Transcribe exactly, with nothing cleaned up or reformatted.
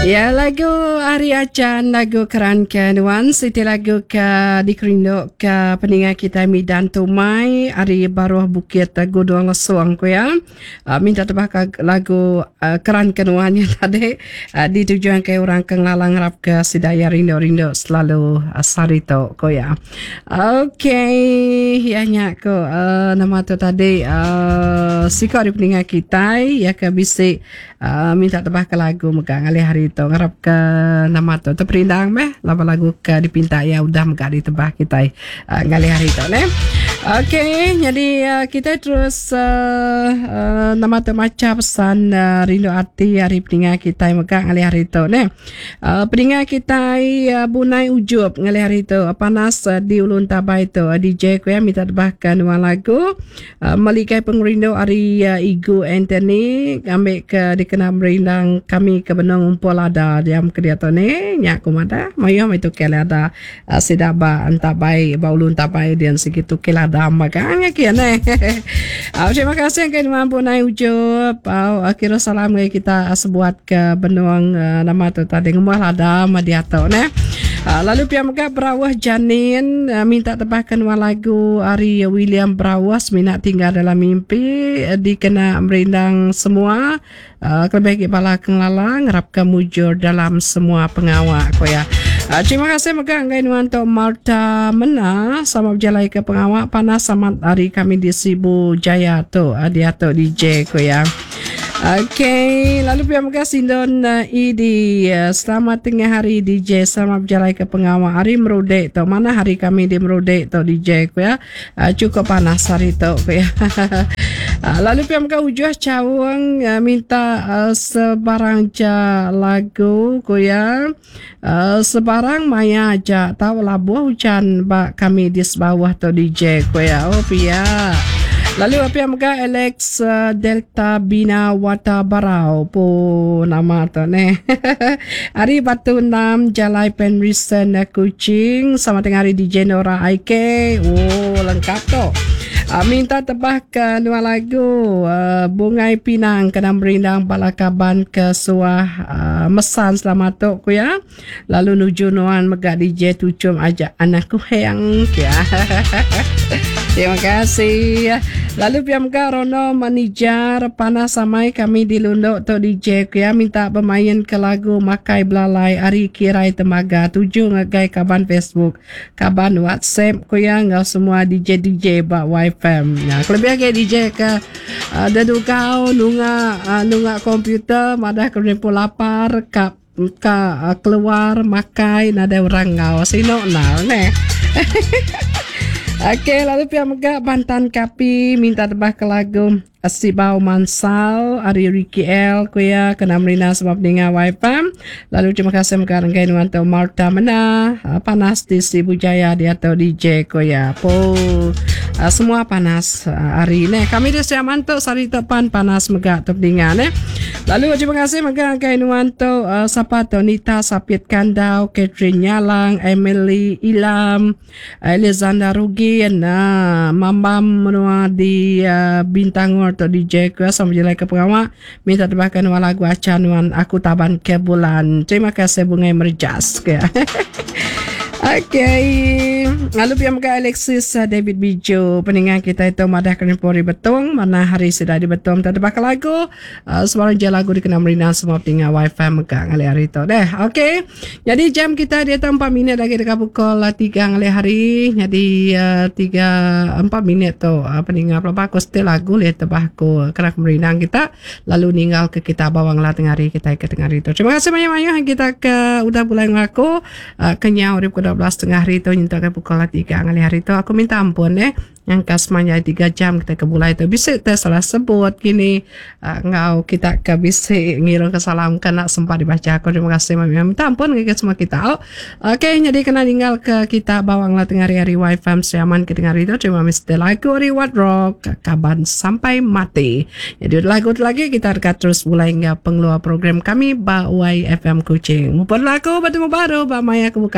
Ya, lagu Ari Ajan, lagu keran ke nuan, siti lagu ke dikerindu ke peninga kita Midan Tumai ari baruh Bukit Gudung Lesung ku ya. Uh, minta tebah ke lagu uh, keran ke nuan nya tadi uh, ditujuan ke orang ke ngelalang ngarap ke sida ya rindu-rindu selalu uh, sehari tu ku ya. Okey, ya nya ku uh, nama tu tadi uh, siko ari peninga kita ya ke bisi uh, minta tebah ke lagu mega ngalih hari tu, ngarap ke nama tu terperindang meh laban lagu ke dipinta ya udah mega ditebah kita uh, ngalih hari tu ne. Okey, jadi uh, kita terus uh, uh, nama tu maca pesan uh, rindu ati hari peninga kita mega ngalih hari tu ne. Uh, peninga kita uh, Bunai Ujup ngalih hari tu uh, panas uh, di Ulun Tabai tu uh, D J ku ya minta tebah ke nuan lagu uh, Meligai Pengerindu ari uh, Igu Anthony ngambil ke dikena merindang kami ke benung ngumpul ada diam ke dia tu ni nyak ku madah mayuh mai tu ke ada uh, sida ba entabai ba Ulun Tabai dian segitu ke lada magang ya kia ne. Uh, terima kasih ke nuan Bunai Ujup. Uh, kira salam ke kita sebuat ke benung uh, nama tu tadi ngumuh lada ma dia tu ne. Uh, lalu pihak mega Berawah Janin uh, minta tebahkan nuan lagu ari William Berawah Minat Tinggal Dalam Mimpi uh, dikena merindang semua uh, kelebih lagi bala kengelala ngarap ke mujur dalam semua pengawak ko ya. Uh, terima kasih mega ngai nuan tu Marta Mena sama berjalan ke pengawak panas sama hari kami di Sibu Jaya tu uh, dia tu D J ko ya. Okey, lalu pihak mega Sindon uh, E D uh, selamat tengah hari D J, selamat berjalan ke pengawak hari Merudek tu. Mana hari kami di Merudek tu D J ku ya. Uh, cukup panas hari tu ku ya. Uh, lalu pihak mega Ujuh Cawang uh, minta uh, sebarang ja lagu ku ya. Uh, sebarang maya aja tahu labuh hujan bak kami di bawah tu D J ku ya. Oh pia. Lalu apa yang mega Alex uh, Delta Bina Wata Barau po nama tu ne. Hari Batu Enam Jalai Penrisen Kuching sama dengan hari D J Nora I K. Oh lengkap tu. Uh, minta tebah ke dua lagu uh, Bungai Pinang kena merindang bala kaban ke suah uh, mesan selamat tu ku ya. Lalu nuju nuan mega D J tucum ajak anakku heng ya. Terima kasih. Lalu pihak mega Rono Manijar panas samai kami di Lunduk tu D J ku ya minta bermain ke lagu Makai Belalai Ari Kirai Temaga tuju ngagai kaban Facebook, kaban WhatsApp ku ya ngau semua D J D J ba Y F M. Ya, kelebih lagi D J ke uh, dedugau nunga uh, nunga komputer madah ke pun lapar ka ka uh, keluar makai nada orang ngau sino nau ne. Okey, lalu pihak mega Bantan Kapi minta tebah ke lagu Sibau Mansal Ari Ricky L ku ya kena merina sebab ninga Y F M. Lalu terima kasih mega renggai nuan tu Marta Mena panas di Sibu Jaya dia atau D J ku ya. Po semua panas hari ni. Kami di Siaman tu sari tepan panas mega tu ninga ne. Lalu terima kasih mega renggai nuan tu sapa tu Nita Sapit Kandau, Catherine Nyalang, Emily Ilam, Alexander Rugin, nah, Mambam menua di uh, Bintangor atau D J ku sama jelai ke pengawak minta tebahkan lagu acanuan aku taban ke bulan. Terima kasih Bungai Merjas ke. Okey, lalu pihak mega Alexis David Bijo peningan kita itu madah kena pori betung mana hari sudah di betung tak tebak lagu uh, sebarang je lagu dikena merina semua peningan wifi mega ngalih hari tu deh. Okey, jadi jam kita dia empat minit lagi dekat pukul tiga ngalih hari. Jadi uh, tiga empat minit tu uh, peningan pelapa aku setel lagu lihat tebah aku kena merina kita lalu ninggal ke kita bawang lah tengah hari kita ke tengah hari tu. Terima kasih banyak-banyak kita ke udah bulan aku uh, kenyau di pukul dua belas tengah hari tu nyentuh ke pukul tiga ngalih hari tu. Aku minta ampun eh yang kasmanya tiga jam kita ke bulai tu bisa tersalah sebut kini uh, ngau kita ke bisa ngiru ke salam kena sempat dibaca. Aku terima kasih mami minta ampun ke semua kita. Oh, okey, jadi kena tinggal ke kita bawang lah tengah hari hari wifi siaman ke tengah hari tu. Terima kasih lagu Reward Rock kaban sampai mati. Jadi lagu lagi kita dekat terus mulai hingga pengeluar program kami ba Y F M Kuching. Mumpun lagu bertemu baru ba maya kebuka.